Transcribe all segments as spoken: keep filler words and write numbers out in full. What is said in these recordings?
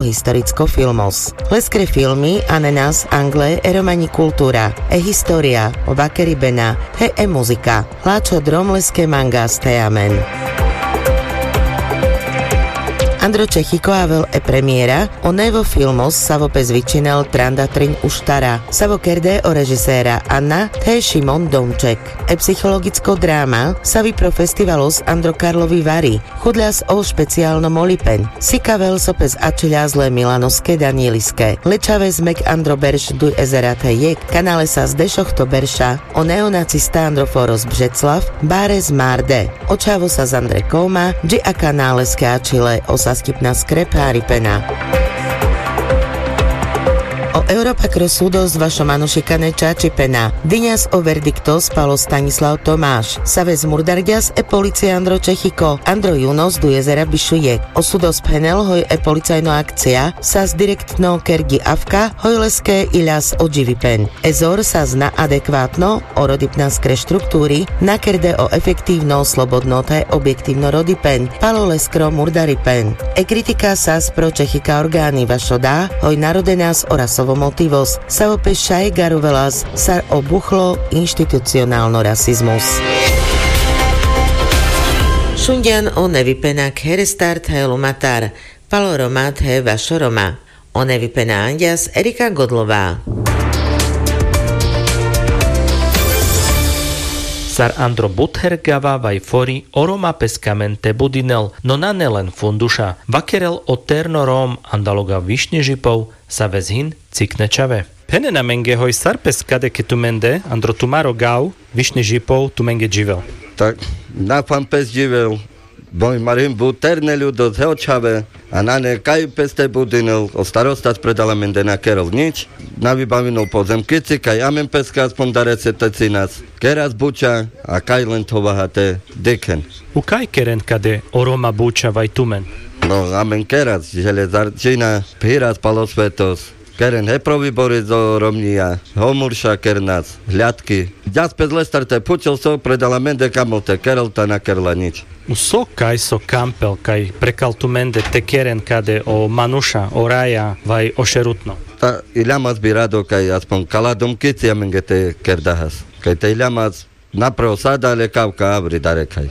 Historicko filmos. Leskre filmi anenas angle e romani kultura, e historia, o vakeribena, he e muzika. Lačho drom leske mangas the amen. Andro čechiko avel e premiera o nevo filmos savo pes vičinel tranda trin uštara, savo kerde o režisera anna the šimon domček. E psihologicko drama savi pro festivalos andro karlovi vari. Chudľas o špecialno molipen sikavel so pes ačhiľas le milanoske danieliske lečaves mek andro berš duj ezera the jek kanale sas dešochto berša. O neonacista andro foros bžeclav bares marde. O čhavo sas andre koma dži a kanaleske ačhile o saskipnaskre pharipena. O europa kro sudos vašo manušikane čačipena. Diňas o verdiktos palo stanislav tomaš save zmurdarďas e policija andro čechiko andro junos duj ezera bišu jek. O sudos phenel hoj e policajno akcija sas direktno kerďi avka hoj leske iľas o dživipen. E zor sas na adekvatno o rodipnaskre štrukturi na kerde o efektivno slobodno the objektivno rodipen palo leskro murdaripen. E kritika sas pro čechika organi vašo da hoj narodenas o rasovo motivos savo pes šaj garovelas sar o buchlo inštitucionalno rasizmus. Šunďan o nevi pena khere start he lumatar. Palo roma the vašo roma. O nevi pena anďas erika godlova. Sar andro buther gava vaj fori o roma pes kamen te budinel no nane len funduša vakerel o terno rom andaloga višňežipov. Saves hin cikne čave. Phenena menge hoj sar pes kade ke tumende andro tumaro gav višňežipov tumenge dživel. Tak na fan pes dživel. Boj marim buterne ljudo the o čhave. A nane kaj pes te budinel o starostas predala mende na kerel nič. Na vibavinel pozemkici kaj amen peske aspon darese te cinas keras buča. A kaj len thovaha te dikhen. U kaj keren kade o roma buča vaj tumen? No amen keras železarčina phiras palo svetos. Keren he pro vibori zo romňija ho murša kernas hľadki. Ďas pes lestar te phučel so predala mende kamol te kerel ta na kerla nič. U so kaj so kampel kaj prekal tumende te keren kade o manuša o raja vaj o šerutno? Ta iľamas bi rado kaj aspon kala domkici amenge te kerdahas kaj te iľamas. Na pre o sada ale kavka avri darekaj.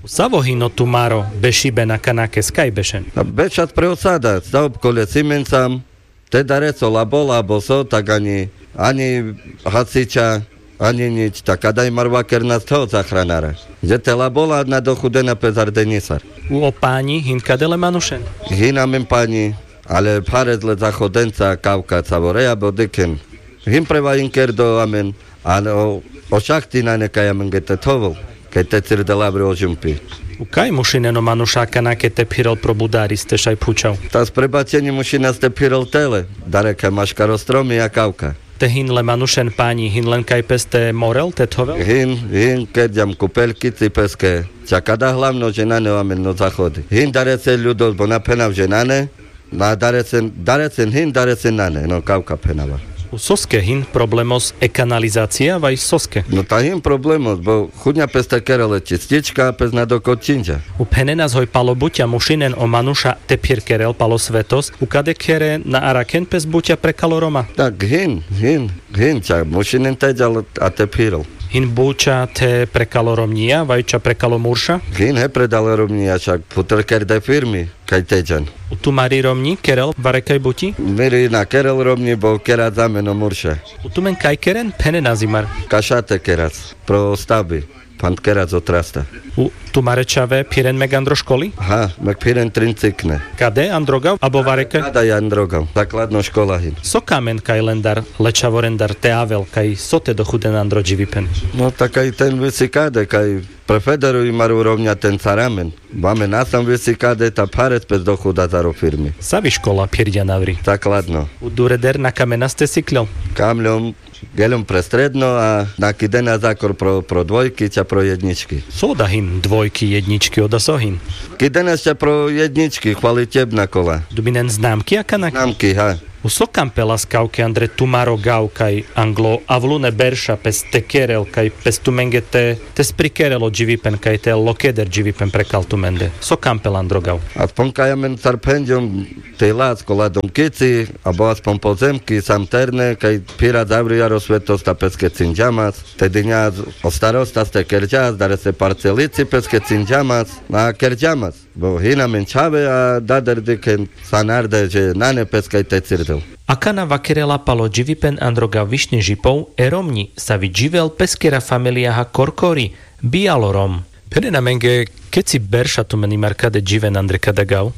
Savo hin o tumaro bešibe na kanakes kaj bešen? Bešas pre o sada sa obkole simen sam. Te dareso labola abo so tak ani ani hasiča ani nič tak adaj mar vakernas the o zahranara. Že te labola na dochudena pes ardenisar. U o panji hin kade le manušen? Hin amen panji. Ale phares le zahodenca kavka cavoreja bo dikhen. Hin pre vahin kerdo amen. Ano o šahti nane kaj amenge te thovel. Kaj te cirdel avri o žumpi. U kaj mušinen o manuša kanake te phirel pro budaris te šaj phučav? Tas prebačenji mušinas te phirel tele. Darekaj maškar o stromi a kavka. Te hin le manušen panji hin len kaj pes te morel te thovel? Hin hin kerďam kupelkici peske. Čak ada hlavno že nane o amen no zahodi hin darese ljudos bo na phenav že nane. Na daresen daresen hin daresen nane no kavka phenava. U soske hin problemos e kanalizacija vaj soske? No ta hin problemos bo chudňa pes te kerel e čistička pes na dokod činďa. U phenenas hoj palo buťa mušinen o manuša te phir kerel palo svetos u kade khere na arakhen pes buťa prekal o roma? Tak hin hin hin ča mušinen te džal a te phirel. Hin buťa the prekal o romňija vaj ča prekal o murša? Hin he predal o romňija čak phuter kerde firmi. Kaj te džan. U tumari romňi kerel varekaj buti? Miri na kerel romňi bo keras amen o murša. U tumen kaj keren phenenas imar? Kaša te keras pro stavbi. Pand keras o trasta. U tumare čhave phiren mek andro školi? Ha mek phiren trin cikne. Kade androgav abo varekaj? Kade androgav zakladno škola hin. So kamen kaj lendar le čhavorendar te avel kaj so te dochuden andro dživipen? No ta kaj ten visi kade kaj pre federu imar o romňa ten sar amen. Bo amen asam visi kade ta phares pes dochuda zaro firmi. Savi škola phirďan avri? Zakladno. U dureder na kamenas te siklel? Kamľom. Geľom pre stredno a na kidena zakor pro dvojki ča pro jednički. So da hin dvojki jednički oda so hin? Kidenas ča pro jednički hvalitebna kola. Dubinen znamki a kanake? Znamki ha. U so kampelas kavke andre tumaro gav kaj anglo avlune berša pes te kerel kaj pes tumenge te te sprikerel o dživipen kaj te lokeder dživipen prekal tumende so kampel andro gav? Aspon kaj amen sar phenđum te ilac kola domkici abo aspon pozemki sam terne kaj phira zavri jaro svetos ta peske cinđamas te dinja o starostas te kerđas darese parcelici peske cinđamas na kerđamas. Bo hina men čhave a dader dikhen sanarde dže nane pes kaj te cirdel. Akana vakerela palo dživipen andro gav višnji žipov e romnji savi dživel peskera familijaha korkori bijalo rom. Phenena menge keci berša tumen imar kade dživen andre kada gav?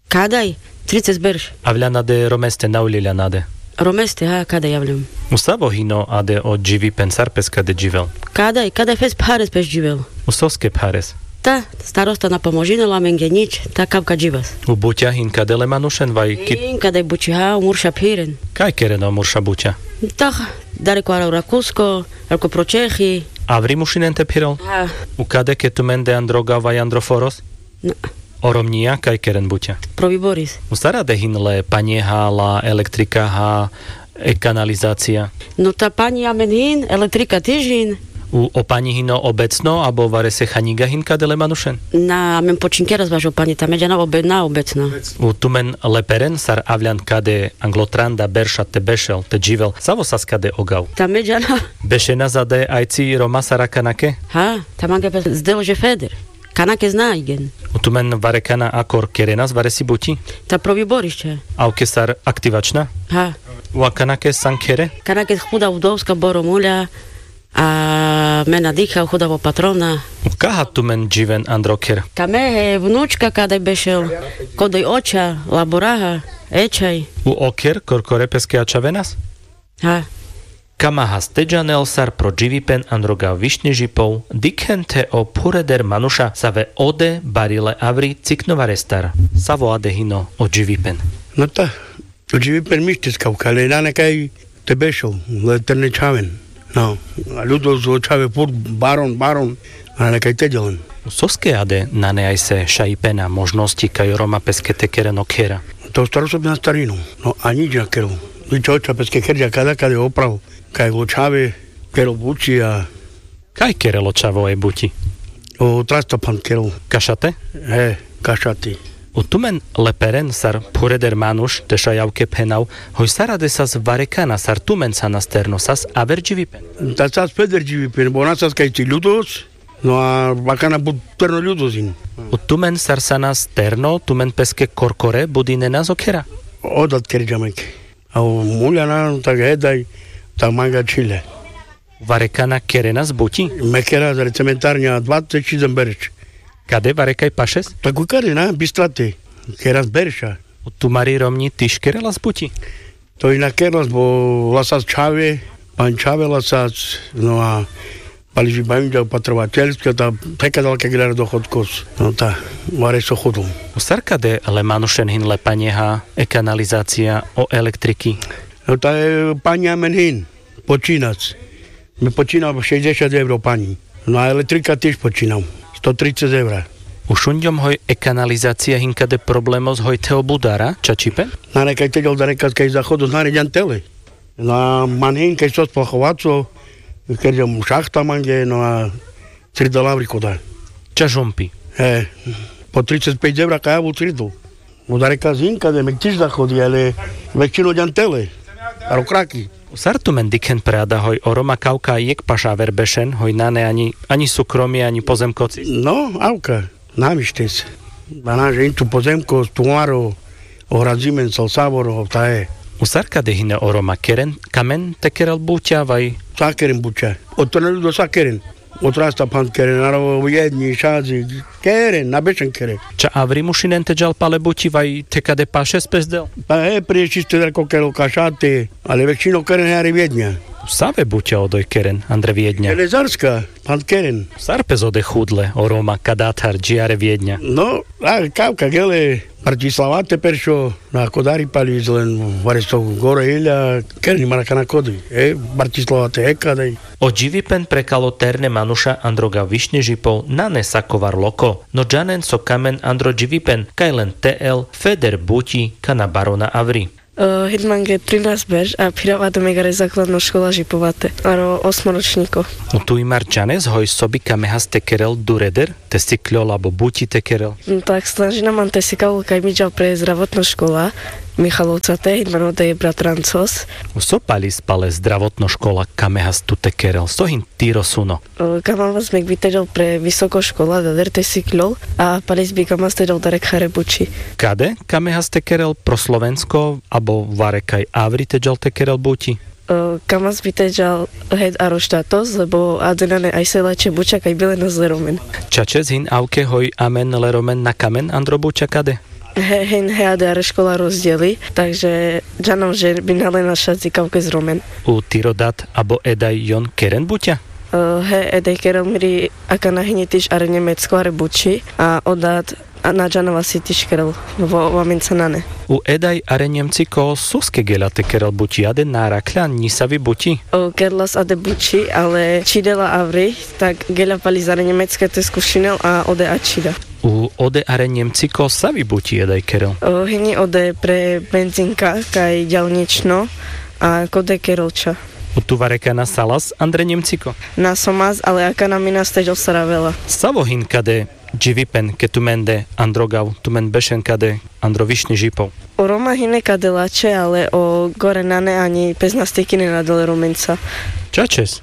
Kadaj? Trices berš. Avljan ade romeste na uljiljan ade? Romeste ha kadaj avljam. U savo hino ade o dživipen sar pes kade dživel? Kadaj kadaj pes phares pes dživel. U soske phares? Ta starosta na pomožinela amenge nič ta kavka dživas. U butja hin kade le manušen vaj ki? Hin kadaj butja ha o murša phiren. Kaj keren o murša butja? Ta dareko ara urakusko, dareko pročehi. Avri mušinen te phirel? Ha. U kade ke tumende andro gav vaj andro foros? O romnjija kaj keren butja? Proviboris. U sar ade hin le panjeha la elektrikaha e kanalizacija? No ta panji amen hin elektrika tiž hin. U o panji hino obecno abo varese hanjiga hin kade le manušen? Na amen počinkeras vaš o panji ta me džana obe na obecno. U tumen leperen sar avljan kade anglo tranda berša te bešel te dživel savo sas kade o gav? Ta me džana. Bešenas ade ajci roma sar akanake? Ha. Ta mange pes zdel že feder. Kanake znajgen. U tumen varekana akor kerenas varesi buti? Ta provi borišće. Avke sar aktivačna? Ha. U akanake san kere? Kanake huda udovska boro mulja. A me na dikha huda vo patrona. U kaha tumen dživen andro kher? Ka me he vnučka kadaj bešel, kodoj oča laboraha, ečaj. U o kher korkore peske ačhavenas? Ha. Kama haste džanel sar pro dživipen andro gav višnji žipov dikhen the o phureder manuša save ode barile avri cikno varestar? Savo ade hino o dživipen? No ta o dživipen mištis kavka le nane kaj te bešel le terne čhaven. No. A ljudo zo čhave phur baron baron. A nane kaj te dželen. Soske ade nane ajse šajipena možnosti kaj o roma peske te keren o khera? To staro so bi na starino. No a nič na kerel. Nič oča peske kherđa kada kade opravo. Kaj o čhave kerel buči a. Kaj kerel o čhavo e buči? O trasta phand kerel. Kašate? He, kašati. U tumen leperen sar phureder manuš te šaj avke phenav, hoj sar ade sas varekana sar tumen sanas terno sas aver dživipen? Ta sas feder dživipen bo na sas kaj ti ljudos. No a akana but terno ljudos in. U tumen sar sanas terno tumen peske korkore budinenas o khera? Odat kerđa mek. A o mulja na tak hedaj tak manga čhile. Varekana kerenas buti? Me kera zar cementarnja dvace čizem berš. Kade varekaj pašes? Tak u kare na bistrate. Keras berša. U tumari romnji tiš kerelas buti? To i na kerelas bo lasas čhave, pančhave lasas, no a pali žibavinđa patrovateljska ta theka dal ke grera dohodkos. No ta vareso hudum. U sar kade le manušen hin le panjeha, e kanalizacija, o elektriki? No ta e panji amen hin. Počinac. Me počinav šejdeset evro panji. No a elektrika tiš počinav. Sto trices evra. U šunđom hoj e kanalizacija hin kade problemos hoj the o budara čačipen? Nane kaj te džol darekas kaj zahodos nane džan tele. Na man hin kaj sos plahovaco. Kerđam šahta mange no a cridel avri koda. Čažumpi? E, po trices pejt evra kaj avu cridel. Udare kazin kade me tiš da hodi ale većino džan tele. Aro kraki. Sar tumen dikhen pre ada hoj o Roma kavka jekh paš aver bešen hoj nane anji anji sukromi anji pozemkoci? No avka. Na mištes. Bana žentu pozemkos tumaro. Ohrazimen sal savoro tae. U sar kade hine o Roma keren kamen te kerel buća vaj? Sa keren buća. Oto na ludo sa keren. Otrasta phand keren aro jednji šazi. Keren na bešen keren. Ča avri mušinen te džal pale bući vaj te kade pašes pes del? Pa e priešiste da ko kerel kašate. Ale većino keren he are vjednja. Save buća odoj keren andre vjednja? Železarska. Phand keren. Sar pes ode hudle o Roma kadathar dži are vjednja? No a kavka gele. Bartislavate peršo. Na kodari pali izlen vareso gore ilja. Keren imar akana kodi e bartislavate e kadaj. O dživipen prekalo terne manuša andro gavišni žipol nane sakovar loko. No džanen so kamen andro dživipen kaj len te el feder bući kana barona avri. Hej, mange trinásberš a phirav ade megare zakladno škola žipovate aro osmoročniko. Tu imar džanes hoj so bi kamehas te kerel dureder, te sikľol abo buči te kerel? Tak snažina man te sikav kaj mi džal pre zdravotno škola, michalovca te hej man ode bratrancos. So palis pale zdravotno škola kamehas tu te kerel so hin tiro suno? Kamavas mek bi te džal pre visoko škola dader te sikľol, a palis bi kamavas te džal darek hare buči. Kade kamehas te kerel pro slovensko abo vare kaj avri te džal te kerel buči? Kamavas bi te džal hed aro štatos lebo ade nane ajse lačhe buča kaj bi len o zle romen. Čačes hin avke hoj amen le romen na kamen andro buča kade? Hen he ade are škola rozdieli, tak že džanav že bi na len našaci kavkes romen. U tiro dat abo edaj jon keren buča? He edaj kerel miri akana hini tiš are nemecko are buči a o dat na džanav asi tiš kerel. Vo vamenca nane. U edaj are nemciko soske geľa te kerel buči ade na arakľa nisavi buči? Kerlas ade buči ale čidela avri, tak geľa pali zare nemecke te skušinel a ode a čida. U ode are nemciko savi buči edaj kerel? Hini ode pre benzinka kaj ďalnično a kode kerel ča. U tu vareka nasalas andre nemciko? Nasomas ale akana mi naste džal sara vela. Savo hin kade dživipen ke tumende andro gav tumen bešen kade andro višni žipov? O roma hine kade lačhe ale o gore nane ani pes nastikinen adel romenca. Čačes?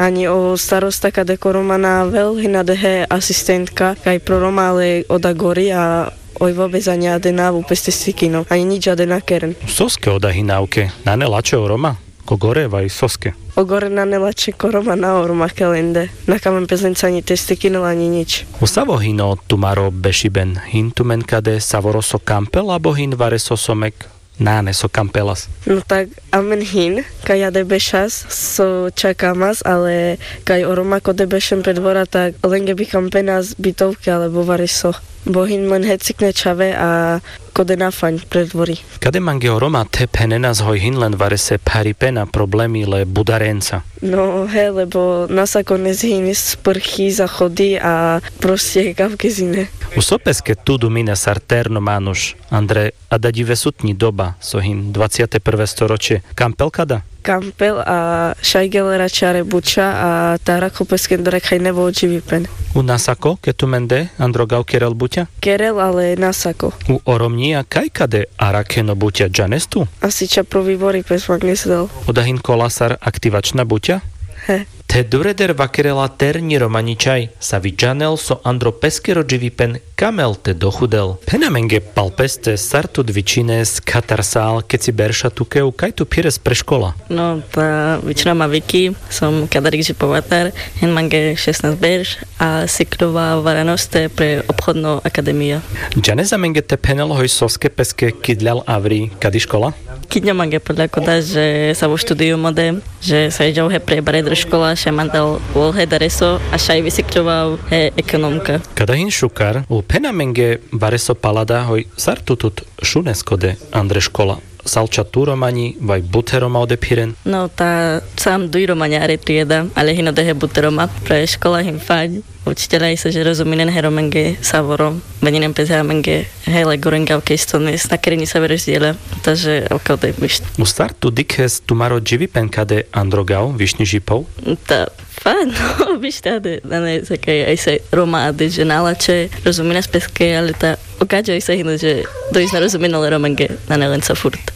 Ani o starosta kade ko roma na avel hina dehe asistentka kaj pro roma ale oda gori a oj vobes ani ade nav upes te sikino ani nič ade na keren. Soske oda hina avke nane lačhe o roma ko gore vaj soske? O gore nane lačhe ko roma na o roma kelende na kamen pes lenca ani te stikinel ani nič. U savo hino tumaro bešiben? Hin tumen kade savoro so kampel abo hin vareso so mek nane so kampelas? No tak amen hin kaj ade bešas so čakamas ale kaj o roma kode bešen pre dvora tak lenge bi kampenas bitovke ale bo vareso bo hin men hecikne čhave a kode na faň pre dvori. Kade mange o roma te phenenas hoj hin len varese pharipena problemi le budarenca? No he lebo nasako nes hin sprchi zachodi a prostie kavke zine. U so peske tu dumine sar terno manuš andre adadjivesutnji doba so hin dvaciate prve storočie kampel kada? Kampel a šaj gelera čare buča a tara ko peske andre kaj nevo dživipen. U nasako ke tumende andro gav kerel buča? Kerel ale nasako. U oromnjia kaj kade arakheno buča džanes tu? Asi ča pro vibori pes mange sdel. Oda hin kola sar aktivačna buča? He. Te dureder vakerela ternji romanji čhaj savi džanel so andro peskero dživipen kamel te dohudel. Phen amenge pal peste sar tut vičhines katarsal keci berša tuke u kaj tu phires pre škola? No ta vičhina ma viki som kadarik žipovatar. Hen mange šesnas berš a sikljova varanoste pre obhodno akademija. Džanes amenge te phenel hoj soske peske kidlal avri kadi škola? Kidnjo mange pola koda že savo študijum ode, že sa idžav he pre baredre škola šaj mandal ol he dareso a šaj visikljova he ekonomka. Kada hin šukar u phen amenge bareso palada hoj sar tu tut šunes kode andre škola? Salča tu romanji vaj bute roma ode phiren? No ta sam duj romanjare tu jeda ale hin ode he bute roma. Pre škola hin fanj učitelja ise že rozuminen he romenge savo rom. Veninen pes he amenge hele gorenga oke isto nes na kereni save rozdjela. Ta že oke ode mišt. U sar tu dikhes tumaro dživipen kade andro gav višnji žipov? Ta fanj. Mišt ade nane sake ise roma ade že nalače rozuminas peske ale ta oka džo ise hino že dojis na rozuminole romenge nane lenca furt.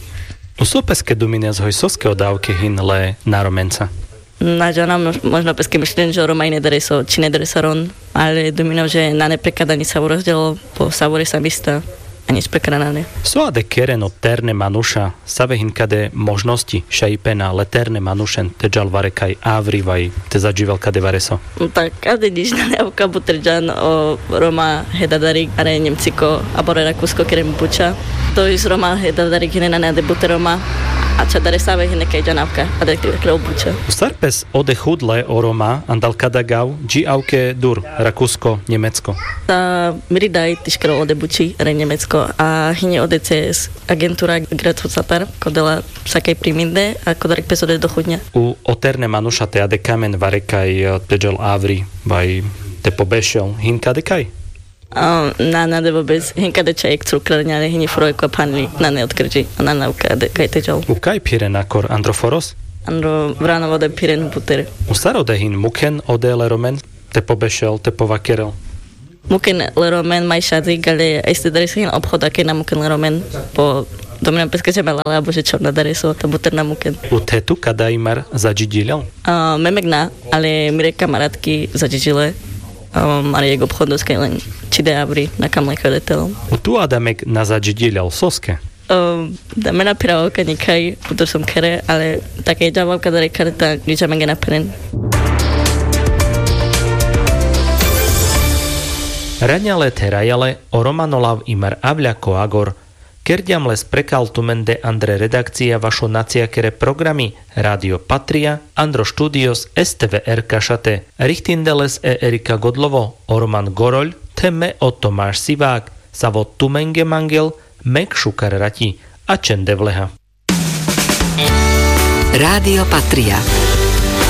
U so peske duminas hoj soske odavke hin le na romenca? Na džanav. Možno peske mišlinen džo roma ine dareso čine daresaron. Ale duminav že nane prekada nisavo rozdjelo po savore sa mista. Ani sprekada nane. So ade keren o terne manuša save hin kade možnosti šaj pena le terne manušen te džal vare kaj avri vaj te zadživel kade vareso? Tak ade niš nane avka buter džan o roma he dadarik are njemciko abore rakusko keren buča. Dojis roma he dadarik hine nane ade bute roma. A ča dare save hine kaj džan avka ade kre o buča. U sar pes ode hudle o roma andal kada gav dži avke dur rakusko njemecko? Ta miri daj tiš kre ode buči are njemecko a hine ode ces agentura gratfucatar kodela sakaj priminde a kodarik pes ode dohudnja. U o terne manuša te ade kamen vare kaj te džal avri vaj te pobešel hin kade kaj? Na na de vôbec, hinka de ča jekh cukra, ale hini furo jekh phanli na ne odkrdži. Na na uka de kaj te džal. Ukaj phiren akor andro foros? Andro vrano vode phiren buter. U sar ode hin mukhen ode le romen? Te pobešel, te povakerel? Mukhen le romen maj šadzik, ale este dare sa hin obchod ake na mukhen le romen. Po domina peske ča me lale abo že čorna dare so ta buter na mukhen. U thetu kada imar zadžidiljal? Memek na, ale mire kamaratki zadžidiljale. Mare jekh obchod doskaj len čide avri na kam len kaj ode tel. U tu adamek na zadžidiljal soske? Da me na pherav oka nikaj, buter som khere, ale tak e džaval kadare khere ta nič amenge na pheren. Raňale therajale o romano lav imar avľako agor. Kerďam les prekal tumende andre redakcia vašo naciakere programi Rádio Patria, andro štúdios STVR Kašate. Richtinde les e Erika Godlovo, o roman Goroľ, the me o Tomáš Sivák. Savo tumenge mangel mek šukar rati. A čen de vleha. Rádio Patria.